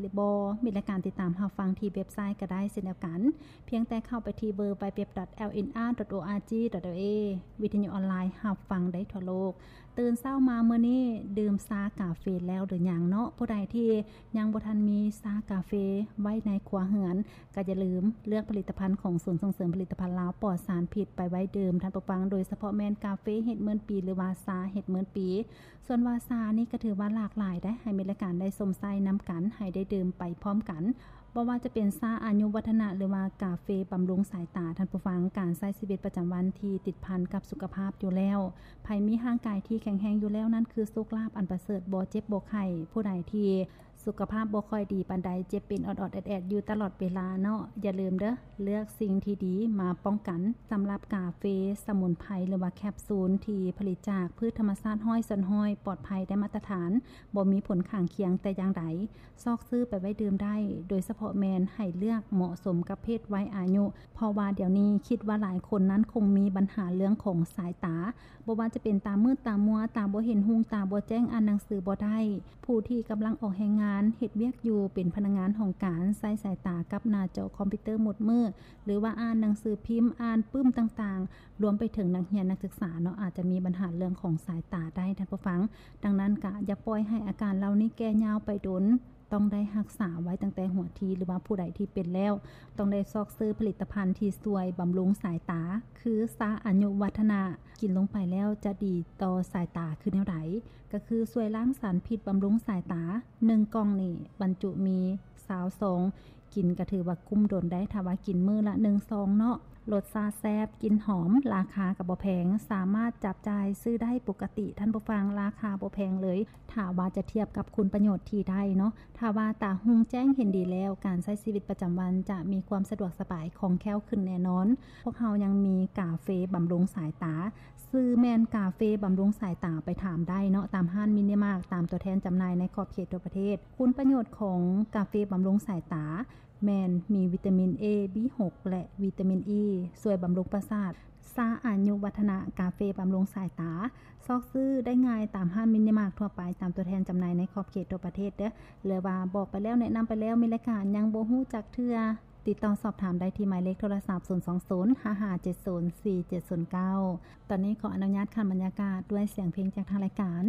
ຫຼືບໍ່ ມີລາຍການຕິດຕາມຮັບຟັງທີ່ເວັບໄຊກໍໄດ້ເຊັ່ນດຽວກັນ. ພຽງແຕ່ເຂົ້າໄປທີ່ www.lnr.org.la ວິທະຍຸອອນລາຍຮັບຟັງໄດ້ທົ່ວໂລກ. ຕື່ນເຊົ້າມາມື້ນີ້ ດື່ມຊາກາເຟແລ້ວຫຼືຍັງເນາະ? ຜູ້ໃດທີ່ຍັງບໍ່ທັນມີຊາກາເຟໄວ້ໃນຄົວເຮືອນ ກໍຢ່າລືມເລືອກຜະລິດຕະພັນຂອງສູນສົ່ງເສີມຜະລິດຕະພັນລາວປອດສານພິດໄປໄວ້ດື່ມ ທ່ານຜູ້ຟັງ, ໂດຍສະເພາະແມ່ນກາເຟເຮັດໝື່ນປີ ຫຼືວ່າຊາເຮັດໝື່ນປີ. ສ່ວນວ່າຊານີ້ກໍຖືວ່າຫຼາກຫຼາຍໄດ໋ ໃຫ້ມີລາຍການໄດ້ຊົມໃຊ້ນຳກັນ ໃຫ້ໄດ້ດື່ມໄປພ້ອມກັນ. ບໍ່ວ່າຈະເປັນຊາອາຍຸວັດທະນະ ຫຼືວ່າກາເຟບຳລຸງສາຍຕາ, ທ່ານຜູ້ຟັງ, ການໃຊ້ຊີວິດປະຈຳວັນທີ່ຕິດພັນກັບສຸຂະພາບຢູ່ແລ້ວ, ໃຜມີຮ່າງກາຍທີ່ແຂງແຮງຢູ່ແລ້ວ, ນັ້ນຄືໂຊກລາບອັນປະເສີດ, ບໍ່ເຈັບບໍ່ໄຂ້. ຜູ້ໃດທີ່ສຸຂະພາບບໍ່ຄ່ອຍດີປານໃດ, ເຈັບເປັນອອດໆແອດໆຢູ່ຕະຫຼອດເວລາເນາະ, ຢ່າລືມເດີ, ເລືອກສິ່ງທີ່ດີມາປ້ອງກັນ. ສຳລັບກາເຟສະໝຸນໄພ ຫຼືວ່າແຄບຊູນທີ່ຜະລິດຈາກພືດທຳມະຊາດຮ້ອຍສ່ວນຮ້ອຍ, ປອດໄພ ໄດ້ມາດຕະຖານ, ບໍ່ມີຜົນຂ້າງຄຽງແຕ່ຢ່າງໃດ. ຊອກຊື້ໄປໄວ້ດື່ມໄດ້, ໂດຍສະເພາະແມ່ນໃຫ້ເລືອກເໝາະສົມກັບເພດໄວອາຍຸ, ເພາະວ່າດຽວນີ້ຄິດວ່າຫຼາຍຄົນນັ້ນຄົງມີບັນຫາເລື່ອງຂອງສາຍຕາ, ບໍ່ວ່າຈະເປັນຕາມືດຕາມົວ, ຕາບໍ່ເຫັນຮຸ່ງ, ຕາບໍ່ແຈ້ງ, ອ່ານໜັງສືບໍ່ໄດ້. ຜູ້ທີ່ກຳລັງອອກແຮງງານ, ເຮັດວຽກຢູ່, ເປັນພະນັກງານຫ້ອງການ, ໃຊ້ສາຍຕາກັບໜ້າຈໍຄອມພິວເຕີໝົດມື້, ຫຼືວ່າອ່ານໜັງສືພິມ, ອ່ານປຶ້ມຕ່າງໆ, ລວມໄປເຖິງນັກຮຽນນັກສຶກສາເນາະ, ອາດຈະມີບັນຫາເລື່ອງຂອງສາຍຕາໄດ້, ທ່ານຜູ້ຟັງ. ດັ່ງນັ້ນກະຢ່າປ່ອຍໃຫ້ອາການເຫຼົ່ານີ້ແກ່ຍາວໄປດົນ. ຕ້ອງໄດ້ຮັກສາໄວ້ຕັ້ງແຕ່ຫົວທີ ຫຼືວ່າຜູ້ໃດທີ່ເປັນແລ້ວ ຕ້ອງໄດ້ຊອກຊື້ຜະລິດຕະພັນທີ່ຊ່ວຍບຳລຸງສາຍຕາ ຄືຊາອາຍຸວັດທະນະ, ກິນລົງໄປແລ້ວຈະດີຕໍ່ສາຍຕາຄືແນວໃດ? ກໍຄືຊ່ວຍລ້າງສານພິດ, ບຳລຸງສາຍຕາ. ໜຶ່ງກ່ອງນີ້ບັນຈຸມີຊາວຊອງ, ກິນກໍຖືວ່າກຸ້ມດົນໄດ້ ຖ້າວ່າກິນມື້ລະໜຶ່ງຊອງເນາະ. ລົດຊາດແຊບ, ກິ່ນຫອມ, ລາຄາກໍບໍ່ແພງ, ສາມາດຈັບຈ່າຍຊື້ໄດ້ປົກກະຕິ, ທ່ານຜູ້ຟັງ, ລາຄາບໍ່ແພງເລີຍ ຖ້າວ່າຈະທຽບກັບຄຸນປະໂຫຍດທີ່ໄດ້ເນາະ. ຖ້າວ່າຕາຮຸ່ງແຈ້ງເຫັນດີແລ້ວ, ການໃຊ້ຊີວິດປະຈຳວັນຈະມີຄວາມສະດວກສະບາຍ, ຄ່ອງແຄ້ວຂຶ້ນແນ່ນອນ. ພວກເຮົາຍັງມີກາເຟບຳລຸງສາຍຕາ, ຊື່ແມ່ນກາເຟບຳລຸງສາຍຕາ, ໄປຖາມໄດ້ເນາະ ຕາມຮ້ານມິນິມາກ, ຕາມຕົວແທນຈຳໜ່າຍໃນຂອບເຂດທົ່ວປະເທດ. ຄຸນປະໂຫຍດຂອງກາເຟບຳລຸງສາຍຕາ ແມ່ນມີວິຕາມິນ A B ຫົກ ແລະ ວິຕາມິນ E ຊ່ວຍບຳລຸງປະສາດ. ຊາອາຍຸວັດທະນະ, ກາເຟບຳລຸງສາຍຕາ, ຊອກຊື້ໄດ້ງ່າຍຕາມຮ້ານມິນິມາກທົ່ວໄປ, ຕາມຕົວແທນຈຳໜ່າຍໃນຂອບເຂດທົ່ວປະເທດເດີ້. ຫຼືວ່າບອກໄປແລ້ວ, ແນະນຳໄປແລ້ວ, ມີລາຍການຍັງບໍ່ຮູ້ຈັກເທື່ອ, ຕິດຕໍ່ສອບຖາມໄດ້ທີ່ໝາຍເລກໂທລະສັບ ສູນສອງສູນ ຫ້າຫ້າເຈັດສູນ ສີ່ເຈັດສູນເກົ້າ. ຕອນນີ້ຂໍອະນຸຍາດຂັນບັນຍາກາດດ້ວຍສຽງເພງຈາກທາງລາຍການ.